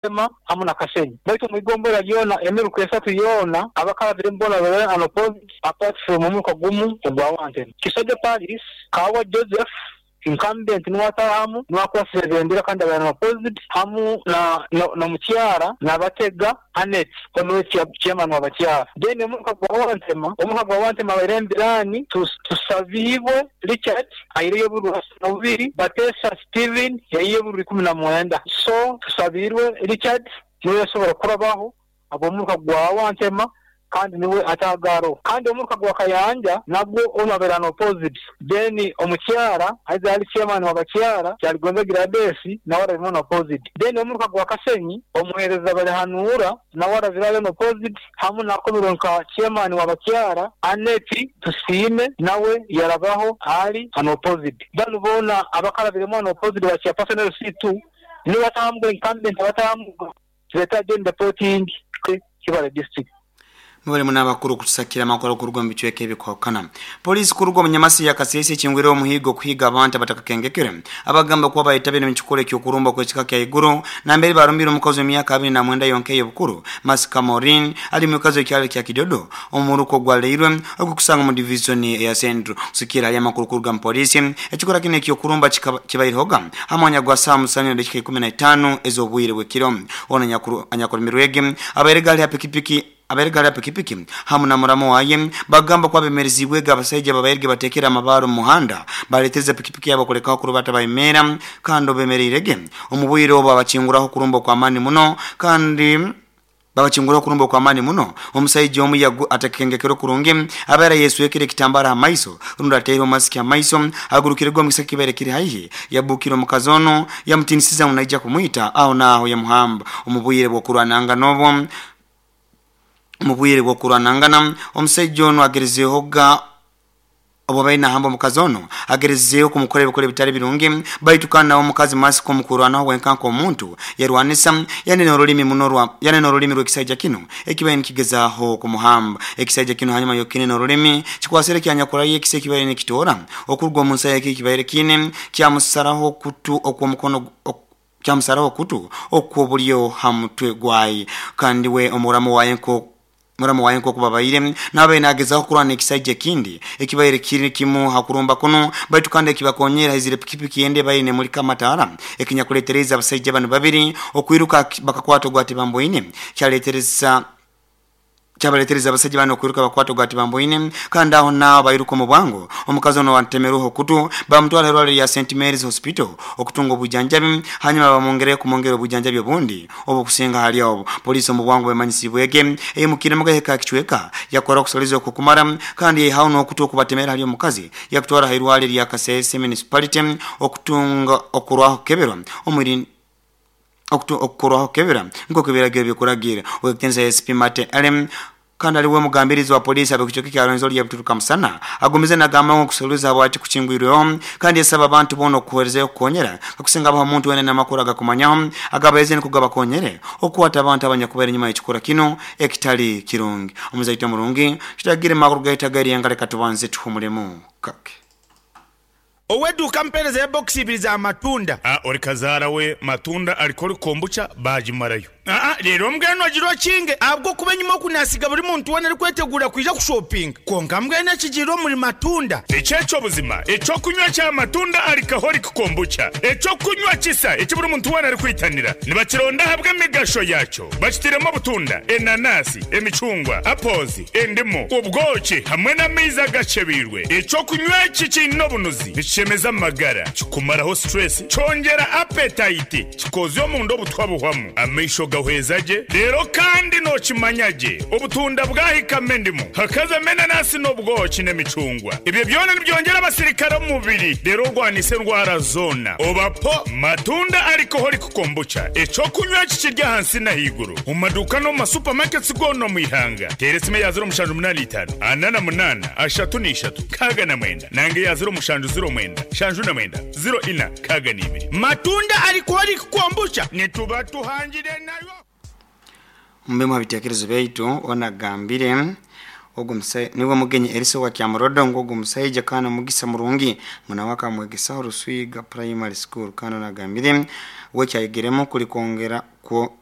Tema hamu na Kasenyi. Baitu omu igombolola lyona, emiruka esatu yoona, abakarabiremu boona babaire unopposed apart from omuruka gumu ogwa Wantema. Kisajja Paris, Kawa Joseph, incumbent nuwe ataahamu, nuwe akwasire ebendera kandi abaire unopposed hamu na n'omukyara Nabatega Annet onu nuwe chairman wa bakyara. Then omuruka gwa Wantema, omuruka gwa Wantema abaire Embirani, Tusabiibwe Richard aireyo obururu asatu na bubiri, Batesa Steven yaiha obururu 19. So Tusabiirwe Richard niwe yasobora kurabaho habw'omuruka gwa Wantema kandi niwe atagaroho. Kandi omuruka gwa Kayanja nagwo onu abaire unopposed. Then omukyara aize ali chairman wa bakyara Kyaligonza Gladys nawe arabiremu unopposed. Then omuruka gwa Kasenyi omuhereza Balihanuura nawe arabire ali unopposed hamu n'akomerwe nka chairman wa bakyara Annet Tusiime nawe yarabaho ali unopposed. Banu boona abakarabiremu unopposed ba chairperson LC2 nibo batahamuga incumbent abatahamuga better join the voting Kibale district. Mwebale muno abakuru kutusakira amakuru kuruga omu bicweka ebikwahukana. Poliisi kuruga omu Nyamasi ya Kasese ekingwireho omuhiigo kuhiiga abantu abatakakengekere abagamba kuba bayetabire omu kikorwa eky'okurumba okw'ekika kya iguru nambere barumbire omukazi w'emyaka 29 yonka ey'obukuru Masika Maureen ali mwikazi w'ekyaro kya Kidodo omu muruka ogwa Leirwe ogukusanga omu divizoni eya Central. Kusigikirra hali amakuru kuruga mu poliisi, ekikorwa kinu eky'okurumba kibairehoga ha mwanya gwa saaha musanju na dakika 15 ez'obwire bw'ekiro. Onu anyakurumirwege abairege ali ha pikipiki Abairege hali ha pikipiki hamu na muramu waye bagamba kuba bemereziibwege abasaija ababairege batekere amabaare omu muhanda baletereza pikipiki yabo kulekaho kurubata bayemeera kandi obu bemereirege omu bwire obu babakinguraho okurumba okw'amaani muno kandi babakinguraho okurumba okw'amaani muno. Omusaija omu atakengekere kurungi abaire ayeswekere ekitambara ha maiso rundi ataireho masiki ha maiso agurukirege omu kisaka ekibaire kiri haihi yabukira omukazi onu yamutinisiza ngu naija kumwita aho naaho yamuhamba omu bwire bw'okurwanangana obwo. Omu bwire bw'okurwanangana, omusaija onu agerezeehoga obu abaire nahamba omukazi onu, agerezeeho kumukora ebikorwa ebitali birungi, baitu kandi nawe omukazi Masiko omu kwerwanaho wenka nk'omuntu, yarwanisa yanena orulimi muno rwa yanena orulimi rw'ekisaija kinu ekibaire nikigezaaho kumuhamba. Ekisaija kinu hanyuma y'okukinena orulimi, kikwasire kyanyakurayo ekiso ekibaire nikitoora okuruga omu nsayo eki ekibaire kiine, kyamusaraho okutu okw'omukono Kyamusaraho okutu okw'obulyo ha mutwe gwaye. Kandi we omuramu waye nko muramu waye nk'oku babaire nabaire nagezaho kurwana ekisaija ekindi ekibaire kiri kimu ha kurumba kunu, baitu kandi ekibakonyera haizire pikipiki endi ebaire nemulika amataara ekinyakuletereize abasaija banu babiri okwiruka bakakwata ogu atibamboine kyaletereza Kyabaletereza abasaija banu okwiruka bakwata ogwa tibamboine, kandi aho naaho bairuka omu bwangu. Omukazi onu owatemerweho okutu bamutwara ha irwariro lya St. Mary's Hospital okutunga obwijanjabi, hanyuma bamwongereyo kumwongera obwijanjabi obundi obukusinga hali obu. Poliisi omu bwangu bwemanyisibwege eimukiremu gahika ha kicweka yakora okusoleza okwokumara kandi yaihaho n'okutu okubatemera hali omukazi yakutwara ha irwariro lya Kasese Municipality okutunga okurwaho kukeberwa omu okukorwaho kukebera nk'oku ebiragiro bikuragiire. Ow'ekitinisa SP Mate Elem kandi ali we mugambirizi wa poliisi ab'ekicweka kya Rwenzori ya Buturuka Musana agumize nagamba ngu okusuruliza habwaki kukingwirweho kandi yasaba abantu boona okukuherezayo okukonyera kakusinga habaho omuntu wena aine amakuru agakumanyaho agabahize nukwo gabakonyere okukwata abantu abanyakubaire enyuma y'ekikorwa kinu ekitali kirungi. Omuzaito omurungi tutagire makuru gaitu ag'eryenka leka tubanze tuhumulemu kake. Ow'eduuka ampeereza ya bokisi ibiri za matunda. A Ori kazaara we matunda arikora kombucha baagimarayo. Aa Reero mbwenu ogira okinge ahabw'okuba enyima oku naasiga buri muntu weena arikweteguura kwija kushopinga. Kwonka mbwenu ekigiire omuri matunda. Eki eky'obuzima, eky'okunywa kya matunda alcoholic kombucha, eky'okunywa kisa eki buri muntu weena arikwitanira. Nibakironda ahabw'emigasho yaakyo. Bakitairemu obutunda, enanasi, emicungwa, apples, Endimu, obwoki hamwe n'amaizi agakyebeirwe. Eky'okunywa eki kiine obunuzi, nikishemeza amagara, kikumaraho stress, kyongyera appetite, kikoozya omunda obutwa buhwamu, amaisho gahweza gye, reero kandi nookimanya gye obutunda bwahikamu endimu, hakazamu enanasi n'obwoki n'emicungwa. Ebyo byona nibyongyera abasirikare omu mubiri reero orwanise endwara zoona. Oba po matunda alcoholic kombucha, eky'okunywa eki kiri ahansi n'ahaiguru. Omu maduuka n'omu ma supermarkets goona omu ihanga. Teera esimu eya 0785 48 33 69 nanga eya 0709 79 04 62. Matunda alcoholic kombucha nituba tuhangire nayo. Omu bimu ha bitekerezo byaitu, onu agambire, Ogu niwe mugenyi Erisa owa Kyamurodo ngu ogu musaija kandi omugisa murungi ngu nawe akamwegesaho Ruswiga Primary School kandi onu agambire we ekyayegeremu kuli kwongera kwo.